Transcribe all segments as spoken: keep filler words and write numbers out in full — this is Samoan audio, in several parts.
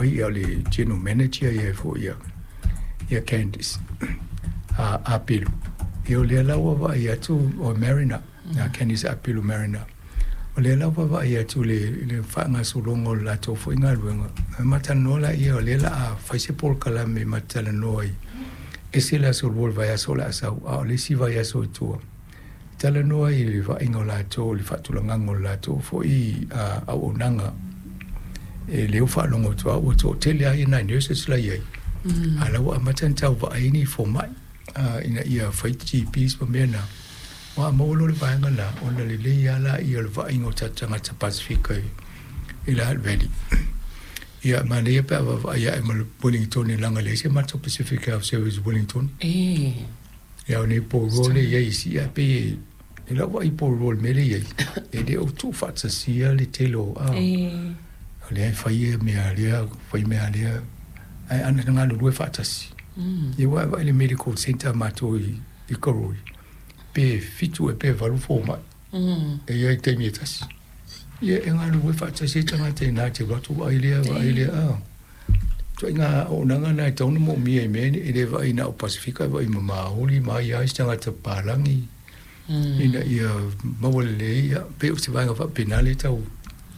mai ia le general manager ia foi ia ia Candice a Apilu. Ia o lea la ua vaai atu o Marina, ia Candice Apilu Marina. O lea la ua vaai atu le le faagasologa o le latou foi galuega. E matalanoa laia o lea la a fai se polokalame e matalanoa ai. Ese le aso lua o le vaiaso o le a sau, a o le isi vaiaso i tua. Talanoa i le vaaiga o latou, le faatulagaga o le latou foi auaunaga. E lea ua faalogo atu lava ua toatele lava nai nurses la e i ai, a o la ua amata ona tau vaai ni fomai ina ia fai G Ps ma mea na. Ua maua loa le vaega lena, ona lelei lava laia o le vaaiga o tatou tagata Pasefika i le Hutt Valley. Ia, manaia pe a vaavaai ae ma le Wellington leaga e leai se matou Pacific Health Service i Wellington. Ia, o nei Porirua lea e i ai i Si'a e pei e lau vaai i Porirua i le mea lea e i ai, e le o tuufaatasia le tele o a. O lea e fai mea a lea, fai mea a lea, ae ana galulue faatasi. Ia ua e vaai i le medical centre a matou i Karoi, pe fitu e pe valu fomai, e i ai i le taimi e tasi. Ia e galulue faatasi ai tagata i ina te alu atu vaai lea, vaai lea, a. Ituaiga auaunaga na e tatau ona moomia i mea e le vaai na o Pasefika, e vaai ma Maori, ma ai lava isi tagata papalagi, ina ia maua lelei, ia, pei o se vaega faapena lea e tau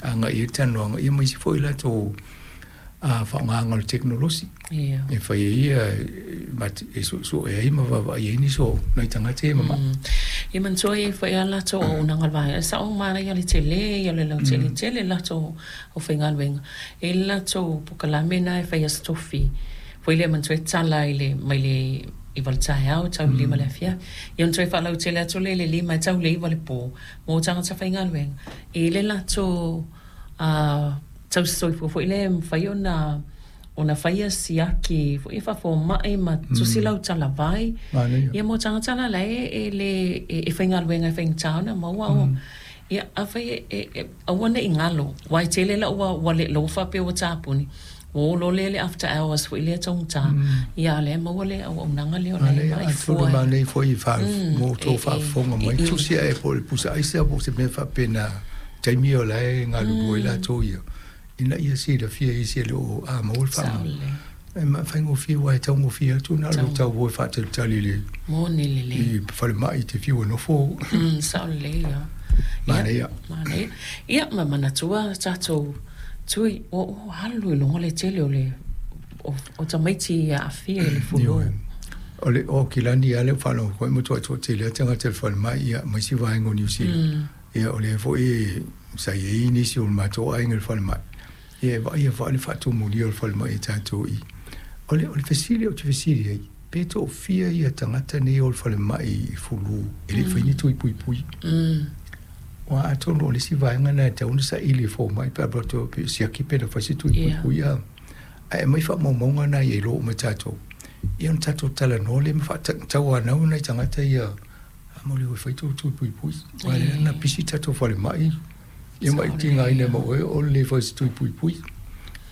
agai i ai le talanoaga, ia ma isi foi latou faaaogaga o le tekonolosi e fai ai ia e suesue ai ma vaavaai ai nisi o nai tagata ia e mamai. Ia manatua e i ai foi lava latou auaunaga a le vaega, e sao manaia le tele ia o le lautele tele latou aufaigaluega. E i ai le latou polokalame lena e fai Aso Tofi foi lea manatua e tala i le mai le iva i le taeao tau i le lima i le afiafi. Ia ona toe faalautele atu lea i le lima e tau i le iva i le po mo tagata faigaluega. E i ai le latou tausisoifua foi lea e mafai ona ona faia siaki foi e faafomai ma tusi lau talavai. Ia mo tagata la la e le e faigaluega e faigata ona maua o ia afai e aua ne i galo aua e tele lau ua ua le ua faapea ua tapuni ua o loa lea le after hours foi lea taugata ia a o lea e maua le auaunaga lea o la e vaai fua. Manaia foi mo outou faafofoga mai tusi ae po o le pusa aisa po o se mea faapena taimi o la e galulue ai latou ia ina ia silafia e isi e le o a maua le faamai. E faigofie aua e taugofie atu na o le tau o e faatalitali i le Moni lelei. I falemai te fiu e nofo. Mm, sao lelei ia. Manaia. Manaia. Ia, ma manatua tatou tui, ua ua alu i luga le tele o le o, o tamaiti e aafia i le fulu. O le Aukilani lava lea ua faalogo foi ma toatoatele lava tagata i le falemai ia ma isi vaega o Niu Sila. Ia o lea foi sa i ai nisi o le matou aiga i le falemai. Ia e vaaia foi le faatumulia o le falemai e tatou i. O le, o le fesili ou te fesili ai, pe toafia ia tagata nei o le falemai i fulu e le i fai ni tui puipui. Aua atonu o le isi vaega lena e tatau ona saili e fomai pe a pe siaki pe na fai se tui puipui a. Ae aumai faamaumauga na ia iloa uma e tatou. Ia ona tatou talanoa lea ma faatauanau nai tagata ia a mo le o e fai tou tui puipui. Aua lea na pisi tatou falemai ia ma i tigaina ma oe o le le fai se tui puipui.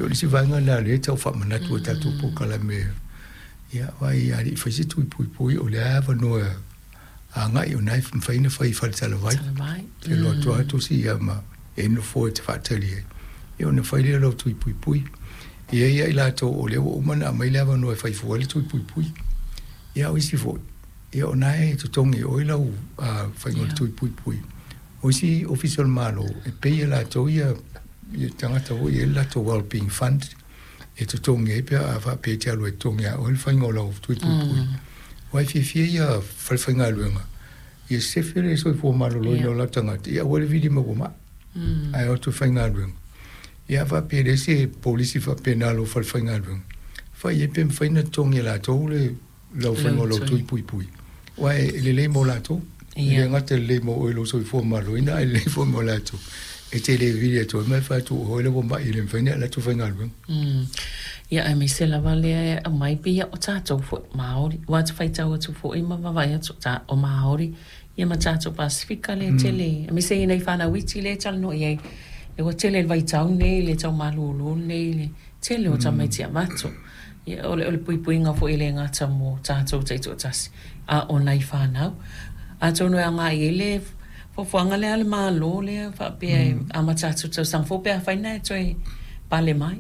O le isi vaega lena lea e tau faamanatu e tatou polokalame ia vai a le i fai se tui puipui o le a avanoa agai o lena e mafai ona fai i faletalavai. E alu atu lava tusi ia ma e nofo e te faatali ai. Ia ona fai lea o lau tui puipui. E i ai ia i latou o lea ua uma ona aumai le avanoa e fai fua ai le tui puipui. Ia a o isi foi, ia o lena e totogi e oe lau faiga o le tui puipui. O isi ofisa o le Malo, e pay e latou ia ia tagata foi e i ai le latou well-being fund e totogi ai pe a faapea e te alu e totogi ia oe le faiga o lau tui puipui. Aua e fiafia ia falefaigaluega ia sefe le soifua maloloina o latou tagata, ia aua le vili mai ua mai, ae o atu e faigaluega. Ia a faapea e leai se polisi faapena a lou falefaigaluega, fai ai pe mafai ona totogi e latou le lau faiga o lau tui puipui. Aua e lelei mo latou, e le gata e lelei mo oe i lou soifua maloloina, ae lelei foi mo latou. E te le vili atu ai ma e fai atu o oe le ua mai e le mafai ona e alu atu faigaluega. Ia aemaise lava lea e aumai pei ia o tatou foi Māori, aua te faitau atu foi ma vaavaai atu ta o Māori ia ma tatou Pasefika lea tele, aemaise i nai fanau iti lea e talanoa i ai, lea ua tele i le vaitau nei, le tau malūlū nei, le tele o tamaiti avatu. Ia o le o le puipuiga foi e le gata mo tatou taitoatasi, a o nai fanau. Atonu e agai i ai le fuafuaga lea a le Malo lea faapea e amata atu i le tausaga fou pe afai na e toe pale mai.